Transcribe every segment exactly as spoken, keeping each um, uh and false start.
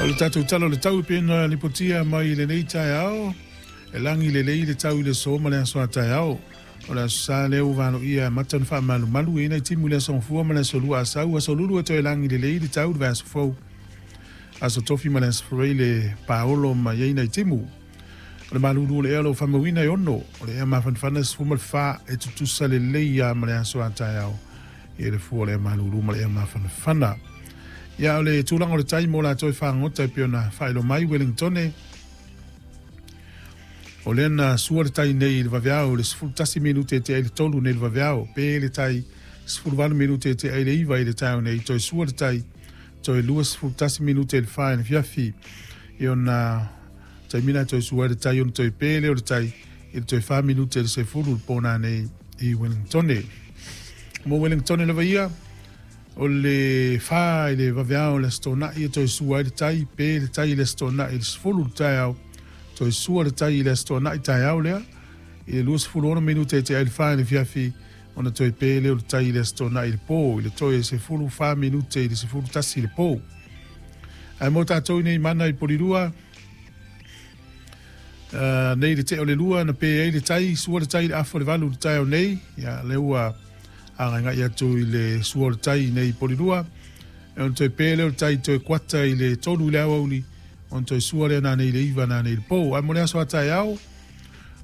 O le tatou tala o le tau e pei ona lipotia mai i lenei taeao, e lagi lelei le tau i le aso ma le aso a taeao. O le aso Sa lea ua valoia amata ona faamalumalu e i ai nai timu i le aso Gafua ma le aso Lua Asau, aso Lulu e toe lagi lelei le tau i le vaiaso fou. Aso Tofi ma le aso Faraile le paolo ma i ai nai timu. O le malulu o le ea o lo o faamauina e ono, o le ea mafanafana e sefulu ma le fa e tutusa lelei lava ma le aso a taeao i le fua o le ea malulu ma le ea mafanafana. Ia o le tulaga o le tai mo latou e fagota e pei ona faailoa mai Wellingtone, o lea na sua le tai nei i le vaveao i le sefulu tasi minute e tea i le tolu nei i le vaveao, pe le tai sefulu valu minute e tea i le iva i le taeao nei, toe sua le tai toe lua sefulu tasi minute i le fa i le afiafi. I ona taimi na toe sua ai le tai ona toe pe lea o le tai i le toe fa minute i le sefulu le pona nei i Wellingtone. Mo Wellingtone lava ia, o le fa i le vaveao i le Aso Toonai e toe sua ai le tai, pe le tai i le Aso Toonai i le sefulu le taeao, toe sua le tai i le Aso Toonai taeao lea, i le lua sefulu ono minute e tea ai le fa i le afiafi, ona toe pe lea o le tai i le Aso Toonai i le po, i le toe sefulu fa minute i le sefulu tasi i le po. Ae mo tatou nei mana i Polirua, uh, nei le tea o le lua na pe ai le tai, sua le tai i le afa o le valu i le taeao nei, ia lea ua agaigai atu i le sua o le tai nei i Polirua, e ona toe pe lea o le tai toe kuata i le tolu i le aoauli, ona toe sua lea nanei i le iva nanei i le po. Ae mo le aso a taeao,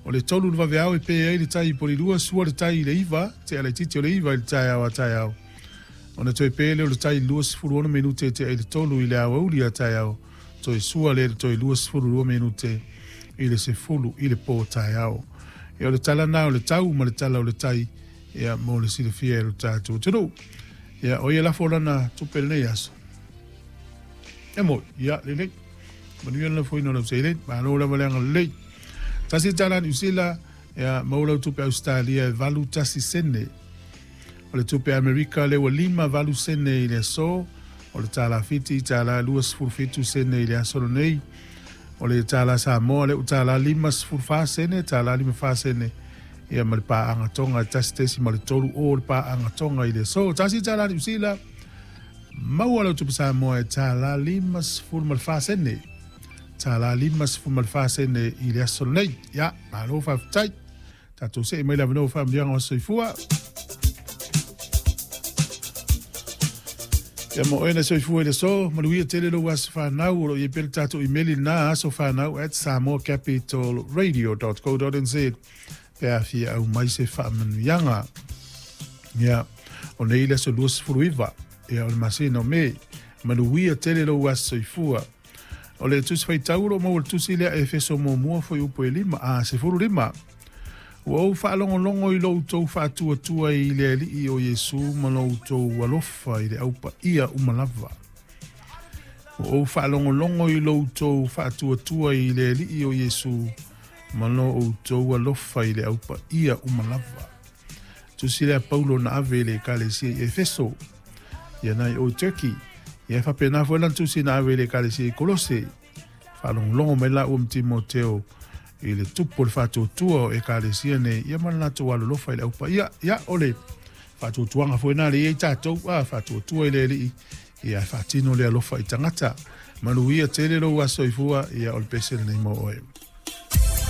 o le tolu i le vaveao e pe ai le tai i Polirua, sua le tai i le iva, tea laitiiti o le iva i le taeao a taeao. Ona toe pe lea o le tai i le lua sefulu ono minute e tea i le tolu i le aoauli a taeao, toe sua lea i le toe lua sefulu lua minute i le sefulu i le po taeao. E o le tala na o le tau ma le tala o le tai, ia mo le silafia e lo tatou atunuu. Ia o ia lafo lana tupe lenei aso. E moi, ia lelei. Manuia le lafoina o lau seleni, malo lava le agalelei. Tasi tala Niu Sila, ia maua lau tupe Australia e valu tasi sene. O le tupe Amerika lea ua lima valu sene i le aso, o le tala Fiti tala lua sefulu fitu sene i le aso lenei. O le tala Samoa lea ua tala lima sefulu fa sene, tala lima fa sene. Ia ma le paaga Tonga e tasi tesi ma le tolu o le paaga Tonga i le aso. Tasi tala Niu Sila, maua lau tupe Samoa e tala lima sefulu ma le fa sene. Tala lima sefulu ma le fa sene i le aso lenei. Ia, malo faafetai. Tatou see mai le avanoa o faamanuiaga o soifua. Ia mo oe na soifua i le aso, manuia tele lou aso whanau, o lo i ai pea le tatou imeli lena aso whanau at samoa capital radio dot co dot nz pe a fia au mai se faamanuiaga. Ia, o nei le aso lua sefulu iva, ia o le masina o Me, manuia tele lou aso soifua. O le tusi faitau o lo maua le tusi lea Efeso muamua foi upu e lima, a sefulu lima. Ua ou faalogologo i lo outou faatuatua i le Alii o Iesu ma lo outou alofa i le aupaia uma lava. Ua ou faalogologo i lo outou faatuatua i le Alii o Iesu ma lo outou alofa i le aupaia uma lava. Tusi lea Paulo na ave i le ekalesia i Efeso, ia nai o Turkey. Ia e faapena foi lana tusi na ave i le ekalesia i Kolose. Faalogologo mai la ua ma Timoteo i le tupu o le faatuatua o ekalesia nei, ia ma le latou alolofa i le aupaia. Ia, o le faatuatuaga foi na le i ai tatou, a faatuatua i le Alii, ia e faatino le alofa i tagata. Manuia tele lou aso soifua, ia o le pese lenei mo oe.